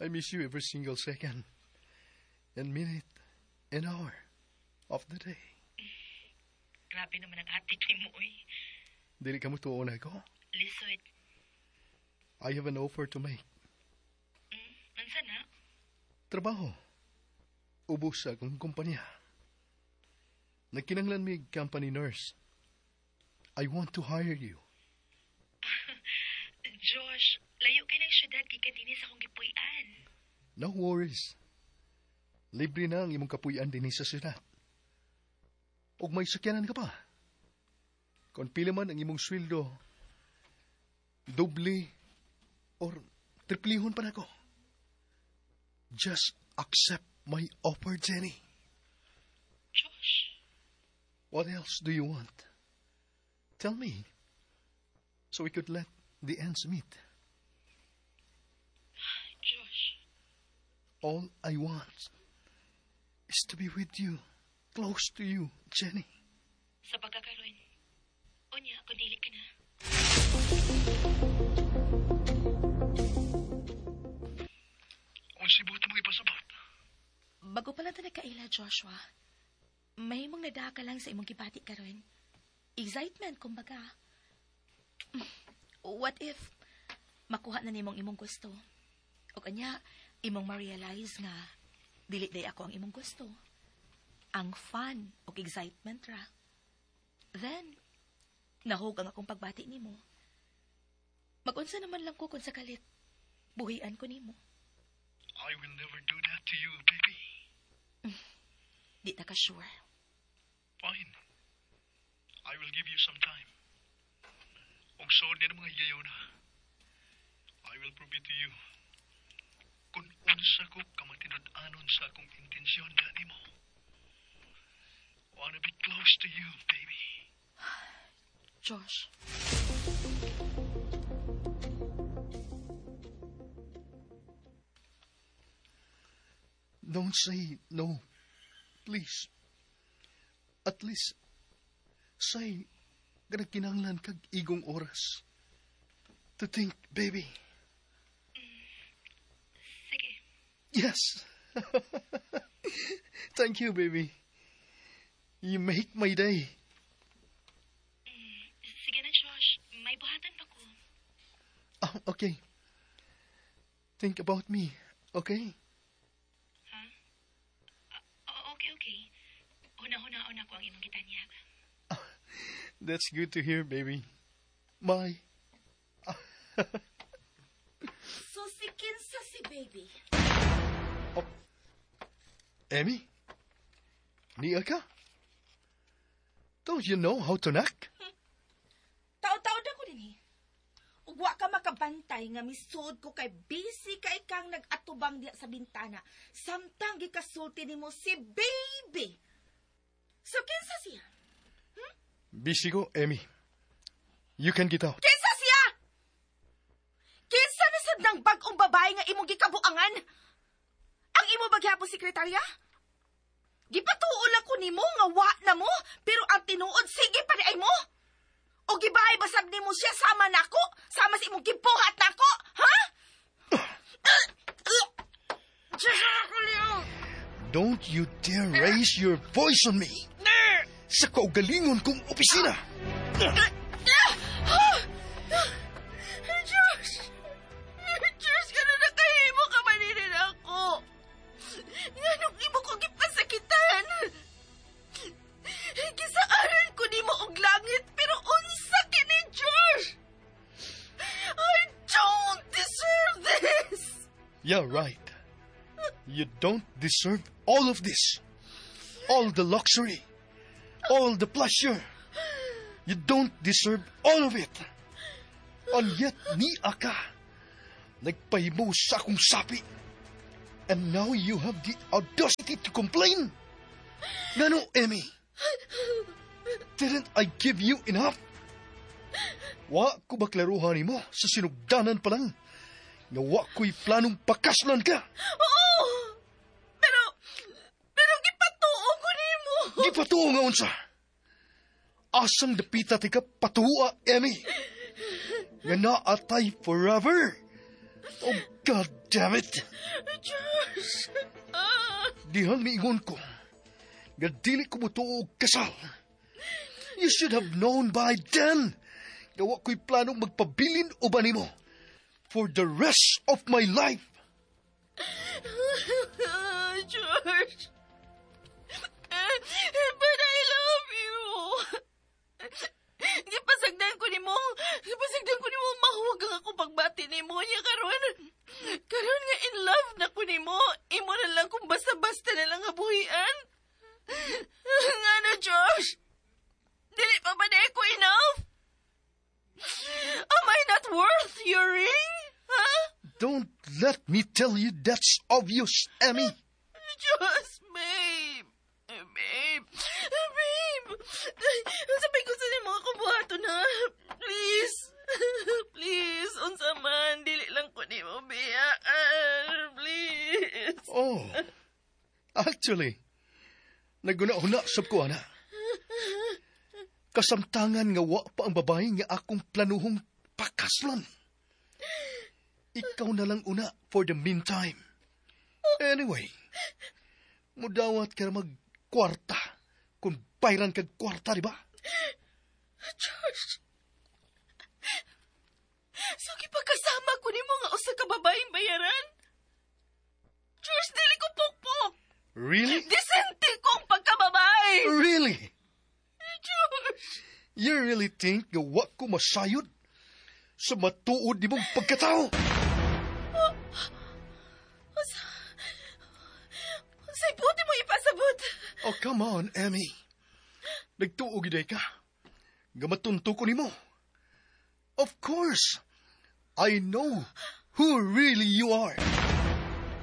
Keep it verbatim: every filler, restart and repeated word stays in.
I miss you every single second and minute and hour of the day. Grabe naman ang attitude mo, uy. Dili ka motuo nako. Lisod. I have an offer to make. Mm, unsa na? Trabaho. Ubos sa akong kumpanya. Nagkinanglan mi company nurse. I want to hire you. Josh, layo kaayo nang syudad gikan dinhi sa akong gipuy-an. No worries. Libre na ang imong kapuy-an dinhi sa syudad. Og may sakyanan ka pa. Kung pila man ang imong sweldo, doble or triplihon pa nako. Just accept my offer, Jenny. Josh, What else do you want? Tell me. So we could let the ends meet. Josh, All I want is to be with you, close to you, Jenny. Sa pagkakaroon. Unya, kung dili ka na. Unsay buot mo ipasabot? Bago pa lang ta nagkaila, Joshua. Mahimong nadaa ka lang sa imong gibati karon. Excitement, kumbaga. What if makuha na nimong imong gusto? O kanya, imong ma-realize nga dili diay ako ang imong gusto. Ang fun o excitement ra. Then, nahug ang akong pagbati nimo. Mag-unsa naman lang ko kung sakalit buhian ko nimo. I will never do that to you, baby. Di ta ka sure. Fine. I will give you some time. Ug suod ni mga higayona. I will prove it to you. Kung unsa ko kamatinud-anon sa akong intensyon diha nimo. Wanna be close to you, baby. Josh. Don't say no. Please. At least, say, kinanglan kag igong oras. To think, baby. Sige. Yes. Thank you, baby. You make my day. Sige na, Josh. May buhatan pa ko. Oh, okay. Think about me, okay? Ha? Ah, okay, okay. Huna-hunaon ako ang imong gitanyag. That's good to hear, baby. Bye. So si kinsa si baby. Oh. Emmy? Nia ka? Don't you know how to knock? Tao-tao na ko din eh. Ug wa ka makabantay nga misuod ko kay busy kay kang nag-atubang diya sa bintana. Samtang gikasulti nimo si baby. So kinsa siya? Busy ko, Emmy. You can get out. Kinsa siya? Kinsa na sad nang bag-ong babae nga imong gikabuangan? Ang imo ba gihapon sekretarya? Gipatuo lang ko nimo nga wa na mo, pero ang tinuod sige pa di ay mo. O gibahay ba sab nimo siya sama nako? Sama sa imong gibuhat nako? Ha? Don't you dare raise your voice on me. Sa kaugalingon kong opisina. Diyos! Diyos, gano'n na kahimo ka maninin ako. Nganong imo ko gipasakitan? Gisaaran ko nimo og langit, pero unsa kini, Josh? I don't deserve this! Yeah, right. You don't deserve all of this. All the luxury. All the pleasure. You don't deserve all of it. And yet, ni aka, nagpahimo sa akong sapi. And now you have the audacity to complain? Ngano, Emmy? Didn't I give you enough? Wa ko ba klaruhan nimo sa sinugdanan pa lang? Nga wa ko'y planong pakaslan ka. Oo! Pero, pero gipatuo ko nimo. Gipatuo nga unsa. Asang dapita ti ka patuwa, Emmy. Nga naatay forever. Oh, God Damn it! Josh! Ah. Dihang miingon ko, nga dili ko mutuo og kasal. You should have known by then. Nga wa ko'y planong magpabilin uban nimo for the rest of my life. George. But I love you. Gipasagdan ko nimo. Gipasagdan ko nimo mahuwag ang akong pagbati nimo niya karon. Karon nga in love na ko nimo. Imo na lang kung basta-basta na lang buhian. Ngano, Josh? Dili pa ba ko enough? Am I not worth your ring? Huh? Don't let me tell you that's obvious, Emmy. Just, babe. Babe. Babe. Sabay ko sa nimo akong buhaton ha. Please. Please. Unsa man. Dili lang ko nimo biyaan. Please. Oh, actually, naghuna-huna sab ko ana. Kasamtangan nga wa pa ang babae nga akong planuhong pakaslon. Ikaw na lang una for the meantime. Anyway, mudawat ka mag kwarta kung bayran kag kwarta, di ba? Josh. So, gipakasama ko nimo nga usa ka babaeng bayaran? Josh, dili ko pukpok. Really? Disente kong pagkababae. Really? Josh. You really think nga wa ko masayod sa matuod nimong pagkatao? Unsa Unsay buot mo ipasabot? Oh, come on, Emmy. Nagtuo gyud ka. Nga matunto ko nimo. Of course, I know who really you are.